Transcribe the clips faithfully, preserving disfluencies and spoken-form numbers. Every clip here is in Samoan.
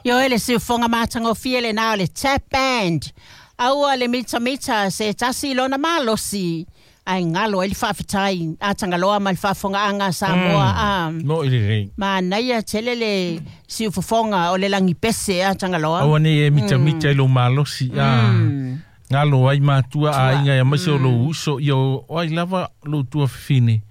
Ioe le siufofoga matagofie lenā o le Tap Band. Aua le mitamita se tasi i lona malosi ae galo ai le faafetai a Tagaloa ma le faafofogaaga a Samoa. A Mo i lelei. Manaia tele le siufofoga o le lagipese a Tagaloa. Aua nei e mitamita i lou malosi a galo ai matua aiga aemaise o lou uso ia o ai lava lou tuafafine.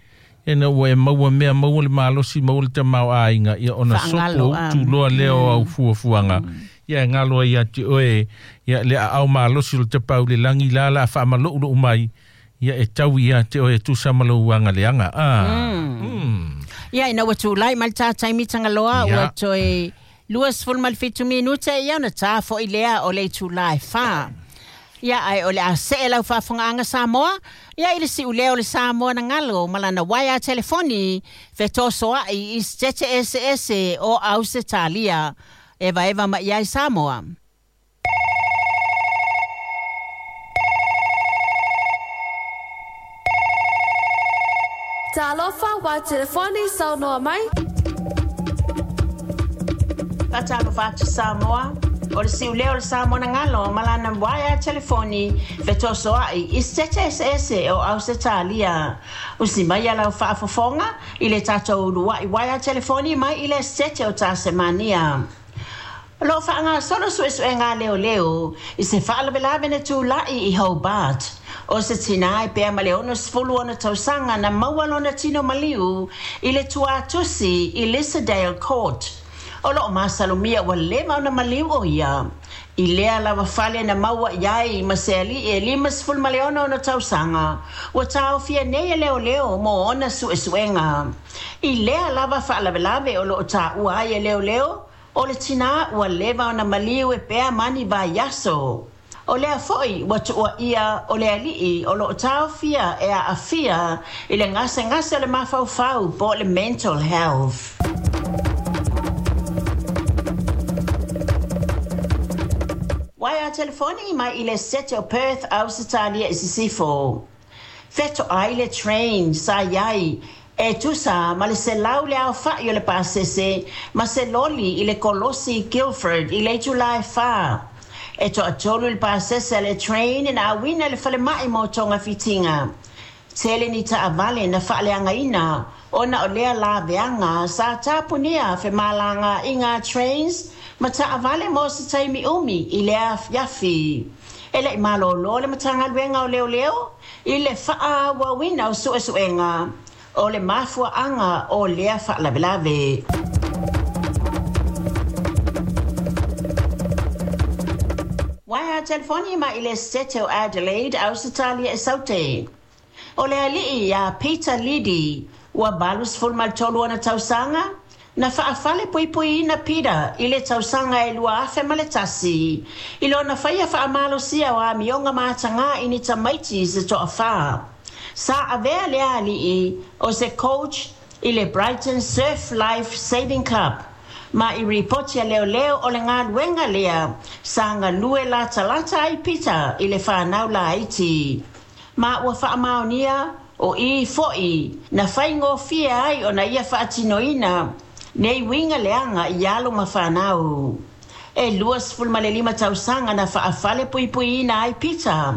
Ina ua e maua mea maua le malosi maua le tamaoaiga ia ona sopo utu loa lea o au fuafuaga ia e galo ai ia te oe ia le aao malosi o le tapau le lagi la la faamaloulou mai ia e tau ia te oe tusa ma lou agaleaga a. Ia ina ua tulai mai le tātaimi Tagaloa ua toe luasefulu ma le fitu minute ia ona tā foʻi lea o le itulā e fā. Ia ae o le a see lau faafofogaaga Samoa ia i le siulea o le Samoa na galo ma lana uaea telefoni fetosoaʻi i setete eseese o Ausetalia evaeva mai ai Samoa. Talofa wa telefoni saunoa mai. Faatalofa atu Samoa. O le siulea o le Samoa na galo ma lana uaea telefoni fetosoaʻi i setete eseese o Ausetalia. Usi mai ia lau faafofoga i le tatou uluaʻi uaea telefoni mai i le setete o Tasemania. O loo faagasolo suesuega leoleo i se faalavelave na tulaʻi i Hobart. O se tinā e pea ma le onosefulu ona tausaga na maua lona tino maliu i le tuatusi i Lissadale Court. O loo masalomia ua leva ona maliu o ia. I lea lava fale na maua i ai ma se aliʻi e limasefulu ma le ono ona tausaga. Ua taofia nei e leoleo mo ona suesuega. I lea lava faalavelave o loo taua ai e leoleo, o le tinā ua leva ona maliu e pea mani vaiaso. O lea foʻi ua tuuaʻia o le aliʻi o loo taofia e aafia i le gasegase o le mafaufau po o le mental health. Uaea telefoni mai i le sete o Perth, Ausetalia i sisifo. Fetoʻai le train sa iai e tusa ma le selau le aofaʻi o le pasese ma se loli i le kolosi Guildford i le itulā e fā. E toʻatolu le pasese a le train na auina i le falemaʻi mo togafitiga. Tele ni taʻavale na faaleagaina ona o lea laveaga sa tapunia femalagaʻiga trains ma taʻavale mo se taimi umi i le afiafi. E leʻi malōlō le matagaluega o leoleo i le faaauauina o suʻesuʻega o le mafuaʻaga o lea faalavelave. Uaea telefoni mai i le setete o Adelaide, Ausetalia e Saute. O le aliʻi iā Peter Liddy ua valusefulu ma le tolu ona tausaga na faafale puipuiina Peter i le tausaga e lua afe ma le tasi i lona faia faamalosia o amioga matagā i ni tamaiti se toʻafā. Sa avea lea aliʻi o se coach i le Brighton Surf Life Saving Club ma i ripoti a leoleo o le galuega lea sa galue latalata ai Peter i le fanau laiti. Ma ua faamaonia o i foʻi na faigofie ai ona ia faatinoina nei uiga leaga i alo ma fanau. E luasefulu ma le lima tausaga na faafale puipuiina ai Peter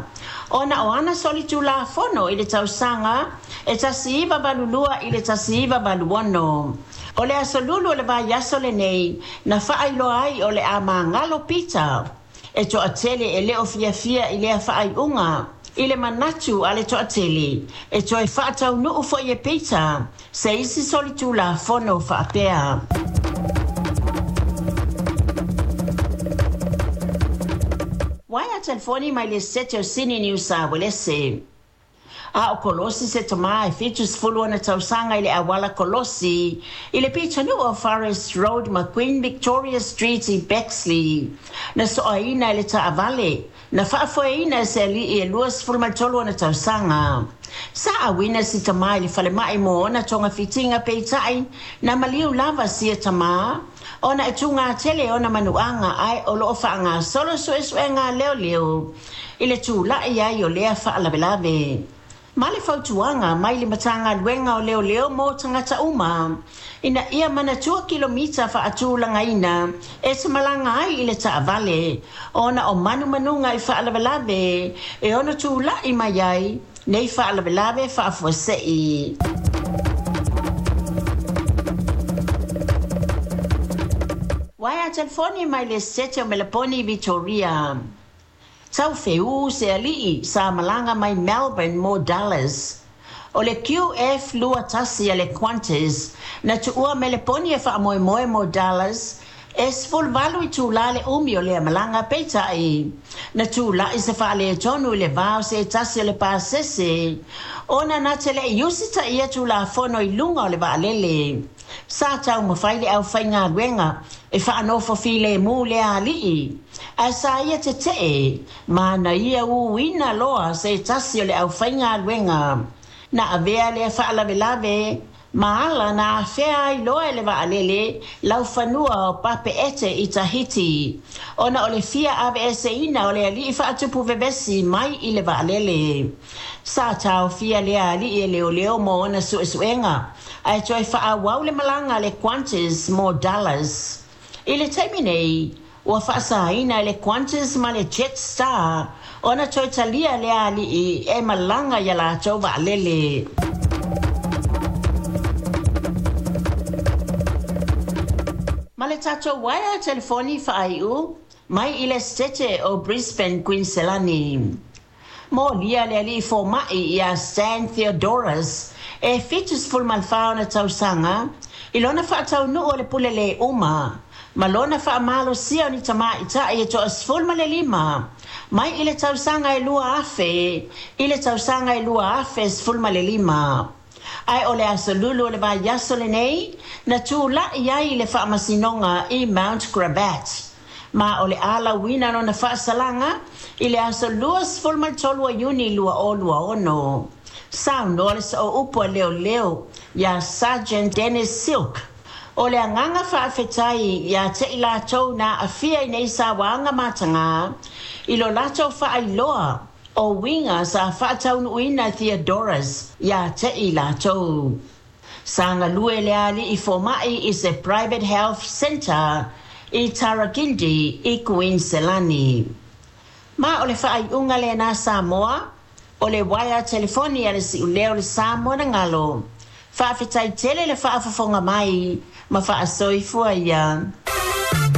ona o ana solitulafono i le tausaga e tasi iva valu lua i le tasi iva valu ono. O le asolulu o le vaiaso lenei na faailoa ai o le a magalo Peter. E toʻatele e le o fiafia i lea faaiuga i le manatu a le toʻatele e toe faataunuu foʻi e Peter se isi solitulafono faapea. Uaea telefoni mai le setete o Sini Niu Sa Uelese. A o kolosi se tamā e fitusefulu ona tausaga i le auala kolosi i le pitonuu o Forest Road ma Queen Victoria Street i Bexley. Na soaina i le taʻavale na faafoeina e se aliʻi e luasefulu ma le tolu ona tausaga. Sa auina si tamā i le falemaʻi mo ona togafitiga peitaʻi na maliu lava sia tamā ona e tugatele ona manuaga ae o loo faagasolo suʻesuʻega leoleo i le tulaʻi ai o lea faalavelave. Ma le fautuaga mai le Matagaluega o Leoleo mo tagata uma ina ia manatua kilomita faatulagaina e te malaga ai i le taavale ona o manumanuga i faalavelave e ono tula'i mai ai nei faalavelave faafuase'i. Waea telefoni mai le sete o Melaponi Victoria. Tau feū se ali'i sa malaga mai Melbourne mo Dallas. O le Q F lua tasi a le Qantas na tuua Meleponi e faamoemoe mo Dallas e sefuluvalu itulā le umi o lea malaga peita'i. Na tula'i se faaletonu i le vā o se tasi o le pasese ona na te le'i usitaia tulafono i luga o le vaalele. Sa taumafai le aufaigaluega e faanofo filemu lea ali'i ae sa ia tete'e ma na ia uina loa se tasi o le aufaigaluega. Na avea lea faalavelave ma ala na afea ai loa e le vaalele laufanua o Papeete i Tahiti ona o le fia aveeseina o le ali'i faatupu vevesi mai i le vaalele. Sa taofia lea ali'i e leoleo mo ona su'esu'ega ae toe fa'aauau le malaga a le Qantas mo Dallas. I le taimi nei ua faasaina e le Qantas ma le Jetstar ona toe talia lea ali'i e malaga ia latou vaalele. Ma le tatou waea telefoni faai'u mai i le Setete o Brisbane, Queensland. Molia le ali'i foma'i ia Stan Theodorus e fitusefulu ma le fa ona tausaga i lona faataunu'u o le pule lē uma ma lona faamalosia o ni tamaʻitaʻi e toʻasefulu ma le lima mai i le tausaga e lua afe i le tausaga e lua afe sefulu ma le lima. Ae o le aso lulu o le vaiaso lenei na tula'i ai i le faamasinoga i Mount Gravatt ma o le alauina lona faasalaga i le aso luasefulu ma le tolu o Iuni lua o lua ono. Saunoa le so'o upu a leoleo iā Sergeant Dennis Silk o le agaga faafetai iā te'i latou na aafia i nei sauaga matagā i lo latou faailoa o uiga sa faataunuuina Theodorus iā te'i latou. Sa galue le ali'i foma'i i se Private Health Centre i Tarragindi i Kuiniselani. Ma o le faaiuga lenā Samoa o le uaea telefoni a le si'ulea o le Samoa na galo. Faafetai tele le faafofoga mai ma faasoifua ia.